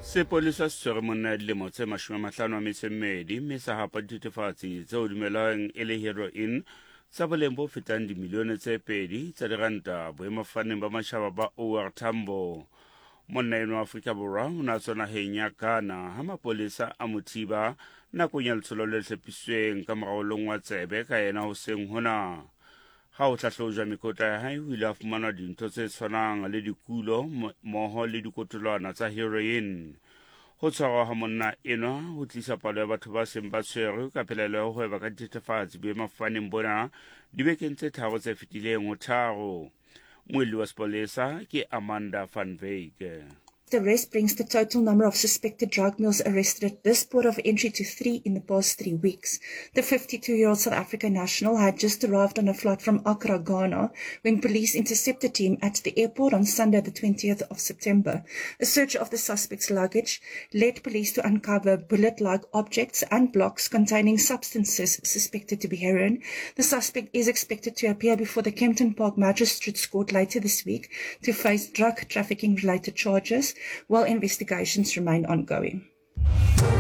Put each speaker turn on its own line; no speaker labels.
Sepolesa se tshwere monna ya dilemo tse 52 mme sa hapa dithethefatsi tseo dumelwang e le heroin tsa boleng bo fetang dimilione tse pedi tsa diranta boemafofaneng ba matjhaba ba OR Tambo. Monna enwa wa Afrika Borwa o ne a tswa naheng ya Ghana ha mapolesa a mo thiba nakong ya letsholo le hlophisitsweng ka mora ho longwa tsebe ka yena hoseng hona. Ha ho hlahlojwa mekotla ya hae ho ile ha fumanwa dintho tse tshwanang le dikulo mmoho le dikotolwana tsa heroin. Ho tshwarwa ha monna enwa ho tlisa palo ya batho ba seng ba tshwerwe ka pelaelo ya ho hweba ka dithethefatsi boemafofaneng bona dibekeng tse tharo tse fetileng ho tharo. Muelli wa sepolesa ke Amanda van Wyk.
The arrest brings the total number of suspected drug mules arrested at this port of entry to three in the past three weeks. The 52-year-old South African national had just arrived on a flight from Accra, Ghana, when police intercepted him at the airport on Sunday, the 20th of September. A search of the suspect's luggage led police to uncover bullet-like objects and blocks containing substances suspected to be heroin. The suspect is expected to appear before the Kempton Park Magistrates Court later this week to face drug trafficking-related charges while investigations remain ongoing.